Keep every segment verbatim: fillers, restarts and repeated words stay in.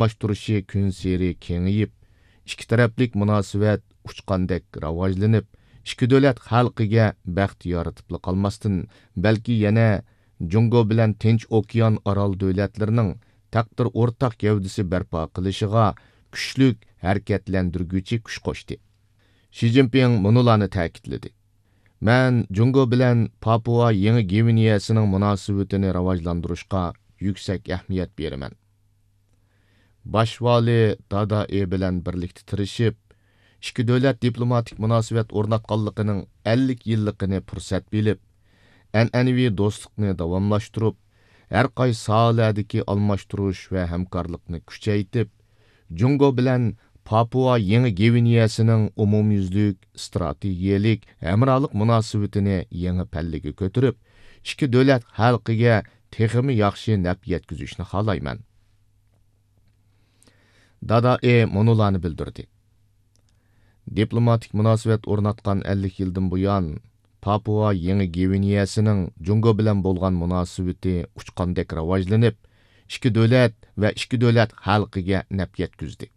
قاتناشتۇرۇشى كۈنسېرى كېڭىيىپ، ئىككى تەرەپلىك مۇناسىۋەت ئۇچقاندەك راۋاجلىنىپ، ئىككى دۆلەت خەلقىگە بەخت يارىتىپلا قالماستىن، بەلكى يەنە جۇڭگو بىلەن تىنچ ئوكيان ئارال دۆلەتلىرىنىڭ تەقدىر ئورتاق گەۋدىسى بەرپا قىلىشىغا كۈچلۈك ھەرىكەتلەندۈرگۈچى كۈچ قوشتى. شى جىنپىڭ مۇنۇلارنى تەكىتلىدى: مەن جۇڭگو بىلەن پاپۇئا يېڭى گۋىنېيەسىنىڭ مۇناسىۋىتىنى راۋاجلاندۇرۇشقا يۈكسەك ئەھمىيەت بېرىمەن. باش ۋالى دادا ئې بىلەن بىرلىكتە تىرىشىپ، ئىككى دۆلەت دىپلوماتىك مۇناسىۋەت ئورناتقانلىقىنىڭ ئەللىك يىللىقىنى پۇرسەت بىلىپ، ئەنئەنىۋى دوستلۇقنى داۋاملاشتۇرۇپ، ھەر قايسى ساھەلەردىكى ئالماشتۇرۇش ۋە ھەمكارلىقنى كۈچەيتىپ، جۇڭگو بىلەن پاپۇئا يېڭى گۋىنېيەسىنىڭ ئومۇميۈزلۈك ئىستراتېگىيەلىك ھەمراھلىق مۇناسىۋىتىنى يېڭى پەللىگە كۆتۈرۈپ، ئىككى دۆلەت خەلقىگە تېخىمۇ ياخشى نەپ يەتكۈزۈشنى خالايمەن. دادا ئې مۇنۇلارنى بىلدۈردى: دىپلوماتىك مۇناسىۋەت ئورناتقان ئەللىك يىلدىن بۇيان، پاپۇئا يېڭى گۋىنېيەسىنىڭ جۇڭگو بىلەن بولغان مۇناسىۋىتى ئۇچقاندەك راۋاجلىنىپ، ئىككى دۆلەت ۋە ئىككى دۆلەت خەلقىگە نەپ يەتكۈزدى.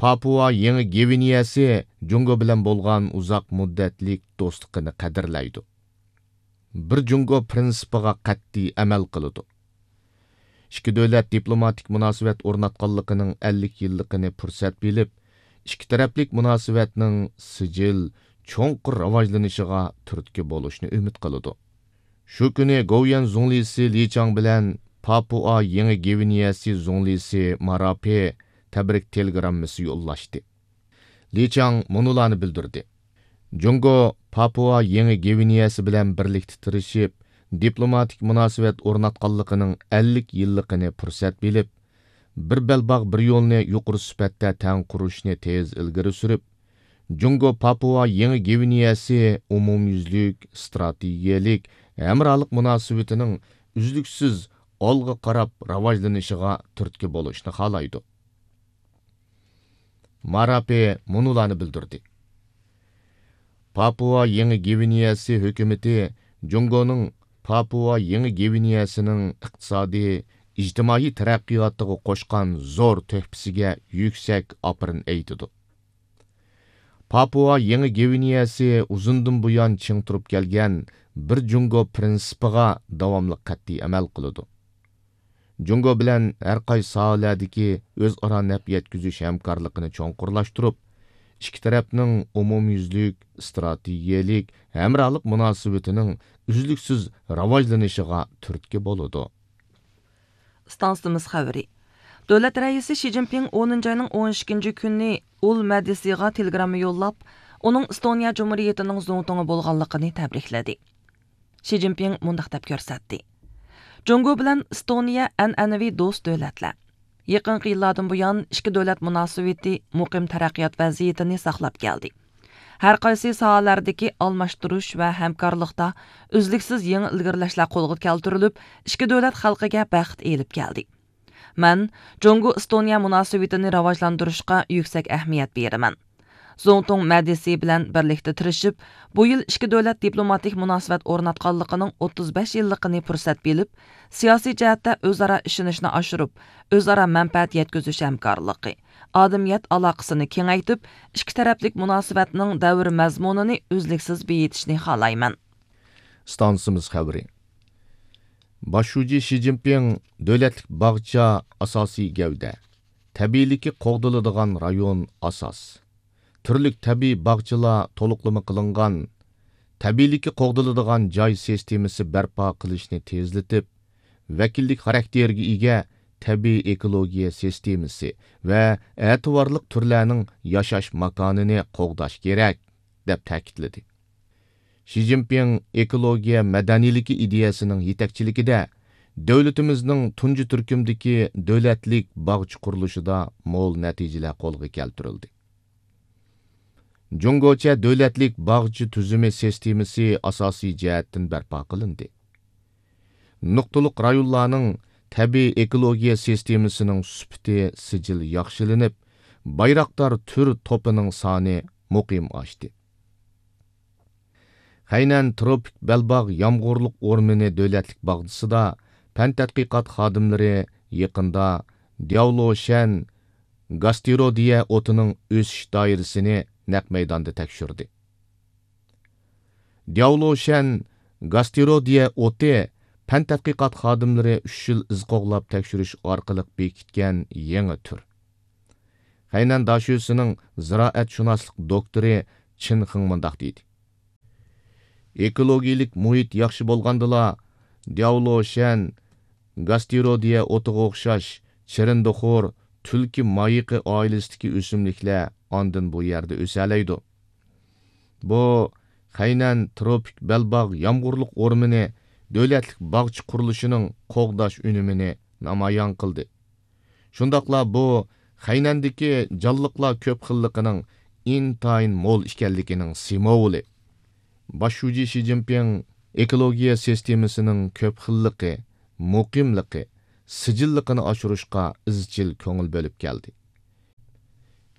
پاپۇئا يېڭى گۋىنېيەسى جۇڭگو بىلەن بولغان ئۇزاق مۇددەتلىك دوستلۇقىنى قەدىرلەيدۇ. بىر جۇڭگو پىرىنسىپىغا قەتئىي ئەمەل قىلىدۇ. ئىككى دۆلەت دىپلوماتىك مۇناسىۋەت ئورناتقانلىقىنىڭ ئەللىك يىللىقىنى پۇرسەت بىلىپ، ئىككى تەرەپلىك مۇناسىۋەتنىڭ سىجىل، چوڭقۇر راۋاجلىنىشىغا تۈرتكە بولۇشنى ئۈمىد قىلىدۇ. شۇ كۈنى گوۋۇيۈەن زۇڭلىسى لى چاڭ بىلەن پاپۇئا يېڭى گۋىنېيەسى زۇڭلىسى ماراپې تەبرىك تېلېگراممىسى يوللاشتى. لى چاڭ مۇنۇلارنى بىلدۈردى: جۇڭگو پاپۇئا يېڭى گۋىنېيەسى بىلەن بىرلىكتە تىرىشىپ، دىپلوماتىك مۇناسىۋەت ئورناتقانلىقىنىڭ ئەللىك يىللىقىنى پۇرسەت بىلىپ، بىر بەلباغ، بىر يولنى يۇقىرى سۈپەتتە تەڭ قۇرۇشنى تېز ئىلگىرى سۈرۈپ، جۇڭگو پاپۇئا يېڭى گۋىنېيەسى ئومۇميۈزلۈك ئىستراتېگىيەلىك ھەمراھلىق مۇناسىۋىتىنىڭ ئۈزلۈكسىز ئالغا قاراپ راۋاجلىنىشىغا تۈرتكە بولۇشنى خالايدۇ. ماراپې مۇنۇلارنى بىلدۈردى: پاپۇئا يېڭى گۋىنېيەسى ھۆكۈمىتى جۇڭگونىڭ پاپۇئا يېڭى گۋىنېيەسىنىڭ ئىقتىسادىي، ئىجتىمائىي تەرەققىياتىغا قوشقان زور تۆھپىسىگە يۈكسەك ئاپىرىن ئېيتىدۇ. پاپۇئا يېڭى گۋىنېيەسى ئۇزۇندىن بۇيان چىڭ تۇرۇپ كەلگەن بىر جۇڭگو پىرىنسىپىغا داۋاملىق قەتئىي ئەمەل قىلىدۇ. جۇڭگو بىلەن ھەر قايسى ساھەلەردىكى ئۆزئارا نەپ يەتكۈزۈش ھەمكارلىقىنى چوڭقۇرلاشتۇرۇپ، ئىككى تەرەپنىڭ ئومۇميۈزلۈك ئىستراتېگىيەلىك ھەمراھلىق مۇناسىۋىتىنىڭ ئۈزلۈكسىز راۋاجلىنىشىغا تۈرتكە بولىدۇ. ئىستانسىمىز خەۋىرى. دۆلەت رەئىسى شى جىنپىڭ ئونىنچى ئاينىڭ ئون ئىككىنچى كۈنى ئۇل مەدىسىغا تېلېگرامما يوللاپ، ئۇنىڭ ئىستونىيە جۇمھۇرىيىتىنىڭ زۇڭتۇڭى بولغانلىقىنى تەبرىكلىدى. شى جىنپىڭ مۇنداق دەپ كۆرسەتتى: جۇڭگو بىلەن ئىستونىيە ئەنئەنىۋى دوست دۆلەتلەر. يېقىنقى يىللاردىن بۇيان ئىككى دۆلەت مۇناسىۋىتى مۇقىم تەرەققىيات ۋەزىيىتىنى ساقلاپ كەلدى. ھەر قايسى ساھەلەردىكى ئالماشتۇرۇش ۋە ھەمكارلىقتا ئۈزلۈكسىز يېڭى ئىلگىرىلەشلەر قولغا كەلتۈرۈلۈپ، ئىككى دۆلەت خەلقىگە بەخت ئېلىپ كەلدى. مەن جۇڭگو ئىستونىيە مۇناسىۋىتىنى راۋاجلاندۇرۇشقا يۈكسەك ئەھمىيەت بېرىمەن. زۇڭتۇڭ مەدىسى بىلەن بىرلىكتە تىرىشىپ، بۇ يىل ئىككى دۆلەت دىپلوماتىك مۇناسىۋەت ئورناتقانلىقىنىڭ ئوتتۇز بەش يىللىقىنى پۇرسەت بىلىپ، سىياسىي جەھەتتە ئۆزئارا ئىشىنىشنى ئاشۇرۇپ، ئۆزئارا مەنپەئەت يەتكۈزۈش ھەمكارلىقى، ئادەمىيەت ئالاقىسىنى كېڭەيتىپ، ئىككى تەرەپلىك مۇناسىۋەتنىڭ دەۋر مەزمۇنىنى ئۈزلۈكسىز بېيىتىشنى خالايمەن. ئىستانسىمىز خەۋىرى. باش شۇجى شى جىنپىڭ دۆلەتلىك باغچە ئاساسىي گەۋدە، تەبىئىيلىكى قوغدىلىدىغان رايون ئاساس، تۈرلۈك تەبىئىي باغچىلار تولۇقلىما قىلىنغان، تەبىئىيلىكى قوغدىلىدىغان جاي سىستېمىسى بەرپا قىلىشنى تېزلىتىپ، ۋەكىللىك خاراكتېرىگە ئىگە تەبىئىي ئېكولوگىيە سىستېمىسى ۋە ئەتىۋارلىق تۈرلەرنىڭ ياشاش ماكانىنى قوغداش كېرەك، دەپ تەكىتلىدى. شى جىنپىڭ ئېكولوگىيە مەدەنىيلىكى ئىدىيەسىنىڭ يېتەكچىلىكىدە دۆلىتىمىزنىڭ تۇنجى تۈركۈمدىكى دۆلەتلىك باغچە قۇرۇلۇشىدا مول نەتىجىلەر قولغا كەلتۈرۈلدى. جۇڭگوچە دۆلەتلىك باغچە تۈزۈمى سىستېمىسى ئاساسىي جەھەتتىن بەرپا قىلىندى. نۇقتىلىق رايونلارنىڭ تەبىئىي ئېكولوگىيە سىستېمىسىنىڭ سۈپىتى سىجىل ياخشىلىنىپ، بايراقدار تۈر توپىنىڭ سانى مۇقىم ئاشتى. خەينەن تروپىك بەلباغ يامغۇرلۇق ئورمىنى دۆلەتلىك باغچىسىدا پەن تەتقىقات خادىملىرى يېقىندا دياۋلوشەن گاستېرودىيە ئوتىنىڭ ئۆسۈش دائىرىسىنى نەق مەيداندا تەكشۈردى. دياۋلوشەن گاستېرودىيە ئوتى پەن تەتقىقات خادىملىرى ئۈچ يىل ئىز قوغلاپ تەكشۈرۈش ئارقىلىق بېكىتكەن يېڭى تۈر. خەينەن داشۆسىنىڭ زىرائەتشۇناسلىق دوكتورى چېن خېڭ مۇنداق دېدى: ئېكولوگىيىلىك مۇھىت ياخشى بولغاندىلا، دياۋلوشەن گاستېرودىيە ئوتىغا ئوخشاش چىرىندىخور، تۈلكە مايىقى ئائىلىسىدىكى ئۆسۈملۈكلەر ئاندىن بۇ يەردە ئۆسەلەيدۇ. بۇ خەينەن تروپىك بەلباغ يامغۇرلۇق ئورمىنى دۆلەتلىك باغچە قۇرۇلۇشىنىڭ قوغداش ئۈنۈمىنى نامايان قىلدى. شۇنداقلا بۇ خەينەندىكى جانلىقلار كۆپ خىللىقىنىڭ ئىنتايىن مول ئىكەنلىكىنىڭ سىمۋولى. باش شۇجى شى جىنپىڭ ئېكولوگىيە سىستېمىسىنىڭ كۆپ خىللىقى، مۇقىملىقى، سىجىللىقىنى ئاشۇرۇشقا ئىزچىل كۆڭۈل بۆلۈپ كەلدى.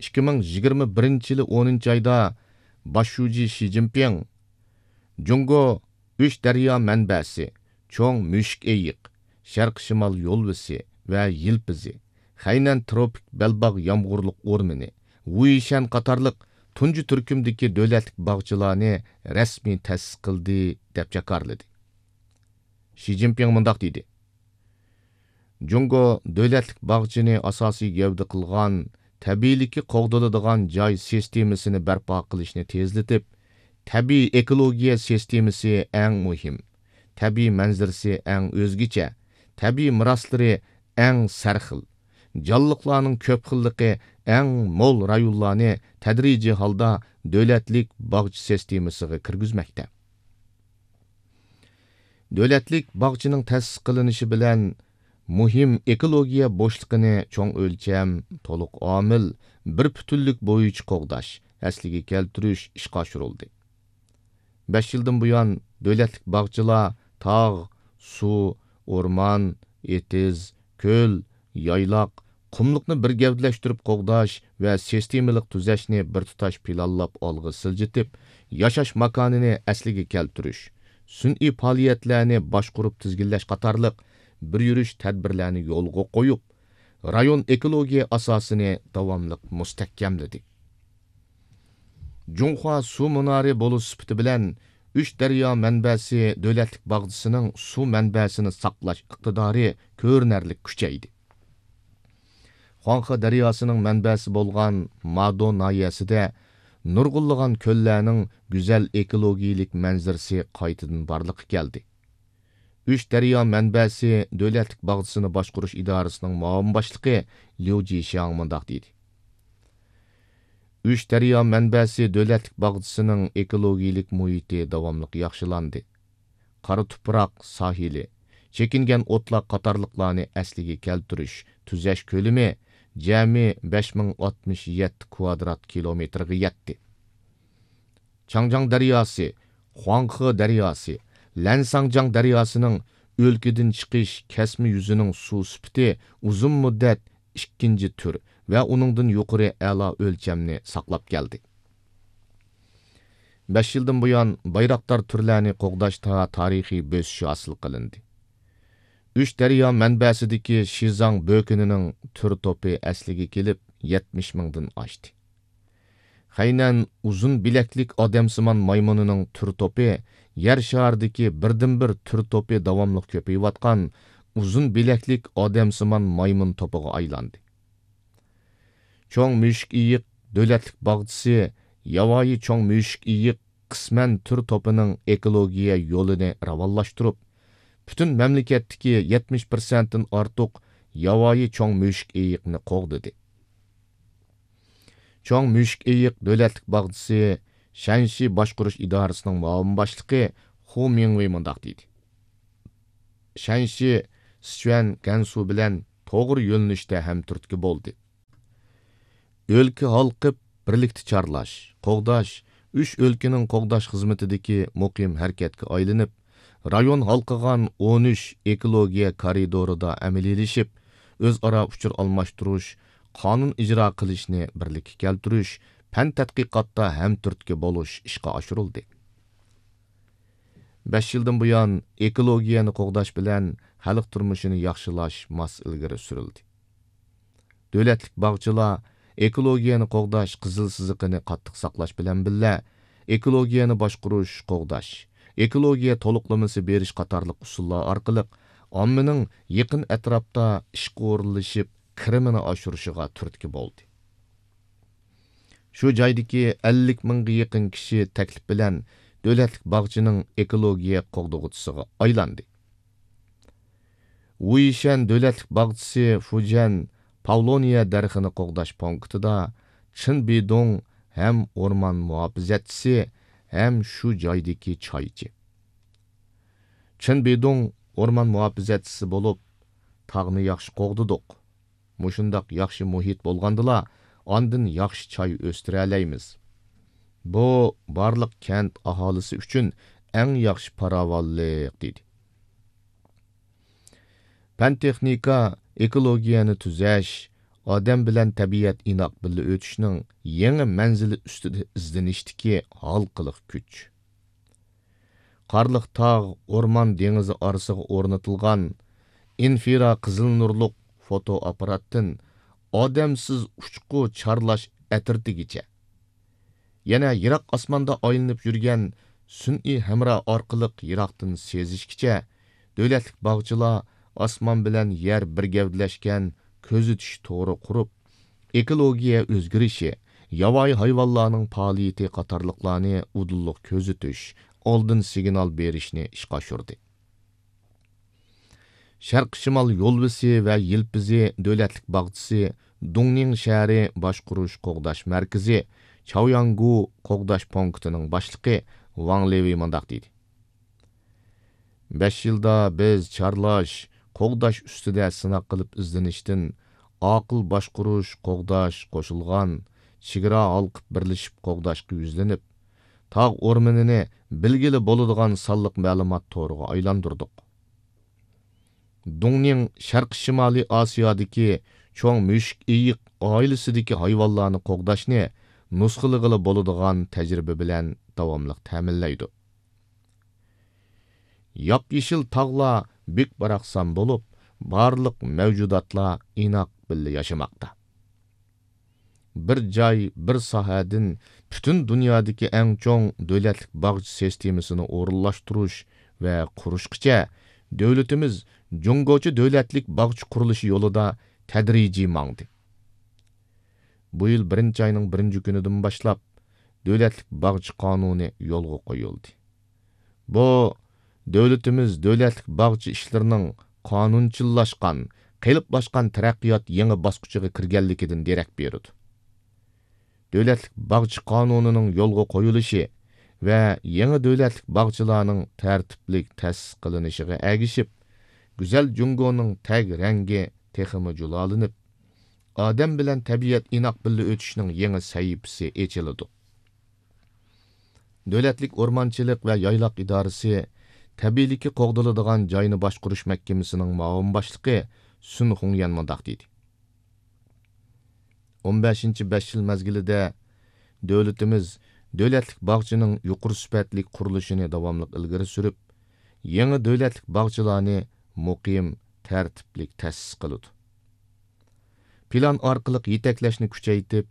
ئىككى مىڭ يىگىرمە بىرىنچى يىلى ئونىنچى ئايدا باش شۇجى شى جىنپىڭ جۇڭگو ئۈچ دەريا مەنبەسى، چوڭ مۈشۈك ئېيىق، شەرقىي شىمال يولۋىسى ۋە يىلپىزى، خەينەن تروپىك بەلباغ يامغۇرلۇق ئورمىنى، ۋۇيشەن قاتارلىق تۇنجى تۈركۈمدىكى دۆلەتلىك باغچىلارنى رەسمىي تەسىس قىلدى، دەپ جاكارلىدى. شى جىنپىڭ مۇنداق دېدى: جۇڭگو دۆلەتلىك باغچىنى ئاساسىي گەۋدە قىلغان تەبىئىيلىكى قوغدىلىدىغان جاي سىستېمىسىنى بەرپا قىلىشنى تېزلىتىپ، تەبىئىي ئېكولوگىيە سىستېمىسى ئەڭ مۇھىم، تەبىئىي مەنزىرىسى ئەڭ ئۆزگىچە، تەبىئىي مىراسلىرى ئەڭ سەرخىل، جانلىقلارنىڭ كۆپ خىللىقى ئەڭ مول رايونلارنى تەدرىجىي ھالدا دۆلەتلىك باغچە سىستېمىسىغا كىرگۈزمەكتە. دۆلەتلىك باغچىنىڭ تەسىس قىلىنىشى بىلەن مۇھىم ئېكولوگىيە بوشلۇقىنى چوڭ ئۆلچەم، تولۇق ئامىل، بىر پۈتۈنلۈك بويىچە قوغداش، ئەسلىگە كەلتۈرۈش ئىشقا ئاشۇرۇلدى. بەش يىلدىن بۇيان، دۆلەتلىك باغچىلار تاغ، سۇ، ئورمان، ئېتىز، كۆل، يايلاق، قۇملۇقنى بىر گەۋدىلەشتۈرۈپ قوغداش ۋە سىستېمىلىق تۈزەشنى بىر تۇتاش پىلانلاپ ئالغا سىلجىتىپ، ياشاش ماكانىنى ئەسلىگە كەلتۈرۈش، سۈنئىي پائالىيەتلەرنى باشقۇرۇپ تىزگىنلەش قاتارلىق بىر يۈرۈش تەدبىرلەرنى يولغا قويۇپ، رايون ئېكولوگىيە ئاساسىنى داۋاملىق مۇستەھكەملىدى. جۇڭخۇا سۇ مۇنارى بولۇش سۈپىتى بىلەن ئۈچ دەريا مەنبەسى دۆلەتلىك باغچىسىنىڭ سۇ مەنبەسىنى ساقلاش ئىقتىدارى كۆرۈنەرلىك كۈچەيدى. خۇاڭخې دەرياسىنىڭ مەنبەسى بولغان مادو ناھىيەسىدە نۇرغۇنلىغان كۆللەرنىڭ گۈزەل ئېكولوگىيىلىك مەنزىرىسى قايتىدىن بارلىققا كەلدى. ئۈچ دەريا مەنبەسى دۆلەتلىك باغچىسىنى باشقۇرۇش ئىدارىسىنىڭ مۇئاۋىن باشلىقى ليۇ جىشياڭ مۇنداق دېدى: ئۈچ دەريا مەنبەسى دۆلەتلىك باغچىسىنىڭ ئېكولوگىيىلىك مۇھىتى داۋاملىق ياخشىلاندى. قارا تۇپراق ساھىلى، چېكىنگەن ئوتلاق قاتارلىقلارنى ئەسلىگە كەلتۈرۈش، تۈزەش كۆلىمى جەمئىي بەش مىڭ ئاتمىش يەتتە كۋادرات كىلومېتىرغا يەتتى. چاڭجياڭ دەرياسى، خۇاڭخې دەرياسى، لەنساڭجياڭ دەرياسىنىڭ ئۆلكىدىن چىقىش كەسمە يۈزىنىڭ سۇ سۈپىتى ئۇزۇن مۇددەت ئىككىنچى تۈر ۋە ئۇنىڭدىن يۇقىرى ئەلا ئۆلچەمنى ساقلاپ كەلدى. بەش يىلدىن بۇيان، بايراقدار تۈرلەرنى قوغداشتا تارىخىي بۆسۈش ھاسىل قىلىندى. ئۈچ دەريا مەنبەسىدىكى شىزاڭ بۆكۈنىنىڭ تۈر توپى ئەسلىگە كېلىپ، يەتمىش مىڭدىن ئاشتى. خەينەن ئۇزۇن بىلەكلىك ئادەمسىمان مايمۇنىنىڭ تۈر توپى يەر شارىدىكى بىردىنبىر تۈر توپى داۋاملىق كۆپىيىۋاتقان ئۇزۇن بىلەكلىك ئادەمسىمان مايمۇن توپىغا ئايلاندى. چوڭ مۈشۈك ئېيىق دۆلەتلىك باغچىسى ياۋايى چوڭ مۈشۈك ئېيىق قىسمەن تۈر توپىنىڭ ئېكولوگىيە يولىنى راۋانلاشتۇرۇپ، پۈتۈن مەملىكەتتىكى يەتمىش پىرسەنتتىن ئارتۇق ياۋايى چوڭ مۈشۈك ئېيىقنى قوغدىدى. چوڭ مۈشۈك ئېيىق دۆلەتلىك باغچىسى شەنشى باشقۇرۇش ئىدارىسىنىڭ مۇئاۋىن باشلىقى خۇ مىڭۋېي مۇنداق دېدى: شەنشى سىچۈەن گەنسۇ بىلەن توغرا يۆنىلىشتە ھەمتۈرتكە بولدى. ئۆلكە ھالقىپ، بىرلىكتە چارلاش، قوغداش، ئۈچ ئۆلكىنىڭ قوغداش خىزمىتىدىكى مۇقىم ھەرىكەتكە ئايلىنىپ، رايون ھالقىغان ئون ئۈچ ئېكولوگىيە كارىدورىدا ئەمەلىيلىشىپ، ئۆزئارا ئۇچۇر ئالماشتۇرۇش، قانۇن ئىجرا قىلىشنى بىرلىككە كەلتۈرۈش، پەن تەتقىقاتتا ھەمتۈرتكە بولۇش ئىشقا ئاشۇرۇلدى. بەش يىلدىن بۇيان، ئېكولوگىيەنى قوغداش بىلەن خەلق تۇرمۇشىنى ياخشىلاش ماس ئىلگىرى سۈرۈلدى. دۆلەتلىك باغچىلار ئېكولوگىيەنى قوغداش قىزىل سىزىقىنى قاتتىق ساقلاش بىلەن بىللە، ئېكولوگىيەنى باشقۇرۇش، قوغداش، ئېكولوگىيە تولۇقلىمىسى بېرىش قاتارلىق ئۇسۇللار ئارقىلىق ئاممىنىڭ يېقىن ئەتراپتا ئىشقا ئورۇنلىشىپ، كىرىمىنى ئاشۇرۇشىغا تۈرتكە بولدى. شۇ جايدىكى ئەللىك مىڭغا يېقىن كىشى تەكلىپ بىلەن دۆلەتلىك باغچىنىڭ ئېكولوگىيە قوغدىغۇچىسىغا ئايلاندى. ۋۇيشەن دۆلەتلىك باغچىسى فۇجيەن پاۋلونىيە دەرىخىنى قوغداش پونكىتىدا چېن بىدۇڭ ھەم ئورمان مۇھاپىزەتچىسى ھەم شۇ جايدىكى چايچى. چېن بىدۇڭ ئورمان مۇھاپىزەتچىسى بولۇپ، تاغنى ياخشى قوغدىدۇق. مۇشۇنداق ياخشى مۇھىت بولغاندىلا، ئاندىن ياخشى چاي ئۆستۈرەلەيمىز. بۇ بارلىق كەنت ئاھالىسى ئۈچۈن ئەڭ ياخشى پاراۋانلىق، دېدى. پەن-تېخنىكا، ئېكولوگىيەنى تۈزەش، ئادەم بىلەن تەبىئەت ئىناق بىللە ئۆتۈشنىڭ يېڭى مەنزىلى ئۈستىدە ئىزدىنىشتىكى ھالقىلىق كۈچ. قارلىق تاغ، ئورمان دېڭىزى ئارىسىغا ئورنىتىلغان ئىنفرا قىزىل نۇرلۇق فوتو ئاپپاراتتىن ئادەمسىز ئۇچقۇ چارلاش ئەترىتىگىچە، يەنە يىراق ئاسماندا ئايلىنىپ يۈرگەن سۈنئىي ھەمراھ ئارقىلىق يىراقتىن سېزىشكىچە، دۆلەتلىك باغچىلار ئاسمان بىلەن يەر بىر گەۋدىلەشكەن كۆزىتىش تورى قۇرۇپ، ئېكولوگىيە ئۆزگىرىشى، ياۋايى ھايۋانلارنىڭ پائالىيىتى قاتارلىقلارنى ئۇدۇللۇق كۆزىتىش، ئالدىن سىگنال بېرىشنى ئىشقا ئاشۇردى. شەرقىي شىمال يولۋىسى ۋە يىلپىزى دۆلەتلىك باغچىسى، دۇڭنىڭ شەھىرى باشقۇرۇش قوغداش مەركىزى، چاۋياڭگۇ قوغداش پونكىتىنىڭ باشلىقى ۋاڭ لېۋېي مۇنداق دېدى: بەش يىلدا بىز چارلاش، قوغداش ئۈستىدە سىناق قىلىپ ئىزدىنىشتىن ئاقىل باشقۇرۇش، قوغداش، قوشۇلغان، چېگرا ھالقىپ بىرلىشىپ قوغداشقا يۈزلىنىپ، تاغ ئورمىنىنى بىلگىلى بولىدىغان سانلىق مەلۇمات تورىغا ئايلاندۇردۇق. دۇڭنىڭ شەرقىي شىمالىي ئاسىيادىكى چوڭ مۈشۈك ئېيىق ئائىلىسىدىكى ھايۋانلارنى قوغداشنى نۇسخىلىغىلى بولىدىغان تەجرىبە بىلەن داۋاملىق تەمىنلەيدۇ. ياپيېشىل تاغلار بۈك-باراقسان بولۇپ، بارلىق مەۋجۇداتلار ئىناق بىللە ياشىماقتا. بىر جاي، بىر ساھەدىن پۈتۈن دۇنيادىكى ئەڭ چوڭ دۆلەتلىك باغچە سىستېمىسىنى ئورۇنلاشتۇرۇش ۋە قۇرۇشقىچە، دۆلىتىمىز جۇڭگوچە دۆلەتلىك باغچە قۇرۇلۇشى يولىدا تەدرىجىي ماڭدى. بۇ يىل بىرىنچى ئاينىڭ بىرىنچى كۈنىدىن باشلاپ، دۆلەتلىك باغچە قانۇنى يولغا قويۇلدى. بۇ، دۆلىتىمىز دۆلەتلىك باغچە ئىشلىرىنىڭ قانۇنچىللاشقان، قېلىپلاشقان تەرەققىيات يېڭى باسقۇچىغا كىرگەنلىكىدىن دېرەك بېرىدۇ. دۆلەتلىك باغچە قانۇنىنىڭ يولغا قويۇلۇشى ۋە يېڭى دۆلەتلىك باغچىلارنىڭ تەرتىپلىك تەسىس قىلىنىشىغا ئەگىشىپ، گۈزەل جۇڭگونىڭ تەگ رەڭگى تېخىمۇ جۇلالىنىپ، ئادەم بىلەن تەبىئەت ئىناق بىللە ئۆتۈشنىڭ يېڭى سەھىپىسى ئېچىلىدۇ. دۆلەتلىك ئورمانچىلىق ۋە يايلاق ئىدارىسى تەبىئىيلىكى قوغدىلىدىغان جاينى باشقۇرۇش مەھكىمىسىنىڭ مۇئاۋىن باشلىقى سۈن خۇڭيەن مۇنداق دېدى: ئون بەشىنچى بەش يىل مەزگىلىدە دۆلىتىمىز دۆلەتلىك باغچىنىڭ يۇقىرى سۈپەتلىك قۇرۇلۇشىنى داۋاملىق ئىلگىرى سۈرۈپ، يېڭى دۆلەتلىك باغچىلارنى مۇقىم، تەرتىپلىك تەسىس قىلىدۇ. پىلان ئارقىلىق يېتەكلەشنى كۈچەيتىپ،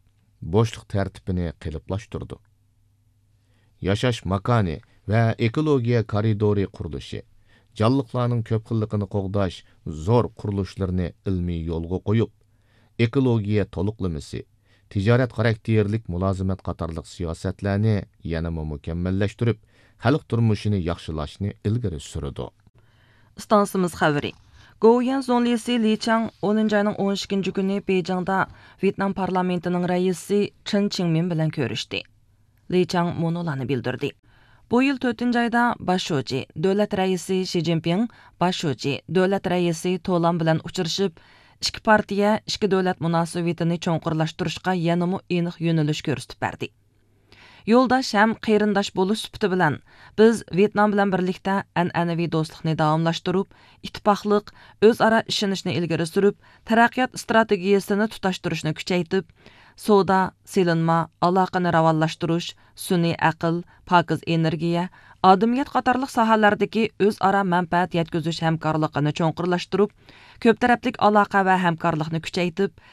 بوشلۇق تەرتىپىنى قېلىپلاشتۇرىدۇ. ياشاش ماكانى ۋە ئېكولوگىيە كارىدورى قۇرۇلۇشى، جانلىقلارنىڭ كۆپ خىللىقىنى قوغداش زور قۇرۇلۇشلىرىنى ئىلمىي يولغا قويۇپ، ئېكولوگىيە تولۇقلىمىسى، تىجارەت خاراكتېرلىك مۇلازىمەت قاتارلىق سىياسەتلەرنى يەنىمۇ مۇكەممەللەشتۈرۈپ، خەلق تۇرمۇشىنى ياخشىلاشنى ئىلگىرى سۈرىدۇ. ئىستانسىمىز خەۋىرى. گوۋۇيۈەن زۇڭلىسى لى چاڭ ئونىنچى ئاينىڭ ئون ئىككىنچى كۈنى بېيجىڭدا ۋيېتنام پارلامېنتىنىڭ رەئىسى چېن چىڭمىن بىلەن كۆرۈشتى. لى چاڭ مۇنۇلارنى بىلدۈردى: بۇ يىل تۆتىنچى ئايدا باش شۇجى، دۆلەت رەئىسى شى جىنپىڭ، باش شۇجى، دۆلەت رەئىسى تولان بىلەن ئۇچرىشىپ، ئىككى پارتىيە، ئىككى دۆلەت مۇناسىۋىتىنى چوڭقۇرلاشتۇرۇشقا يەنىمۇ ئېنىق يۆنىلىش كۆرسىتىپ بەردى. يولداش ھەم قېرىنداش بولۇش سۈپىتى بىلەن، بىز ۋيېتنام بىلەن بىرلىكتە ئەنئەنىۋى دوستلۇقنى داۋاملاشتۇرۇپ، ئىتتىپاقلىق، ئۆزئارا ئىشىنىشنى ئىلگىرى سۈرۈپ، تەرەققىيات ئىستراتېگىيەسىنى تۇتاشتۇرۇشنى كۈچەيتىپ، سودا، سېلىنما، ئالاقىنى راۋانلاشتۇرۇش، سۈنئىي ئەقىل، پاكىز ئېنېرگىيە، ئادىمىيەت قاتارلىق ساھەلەردىكى ئۆزئارا مەنپەئەت يەتكۈزۈش ھەمكارلىقىنى چوڭقۇرلاشتۇرۇپ، كۆپ تەرەپلىك ئالاقە ۋە ھەمكارلىقنى كۈچەيتىپ،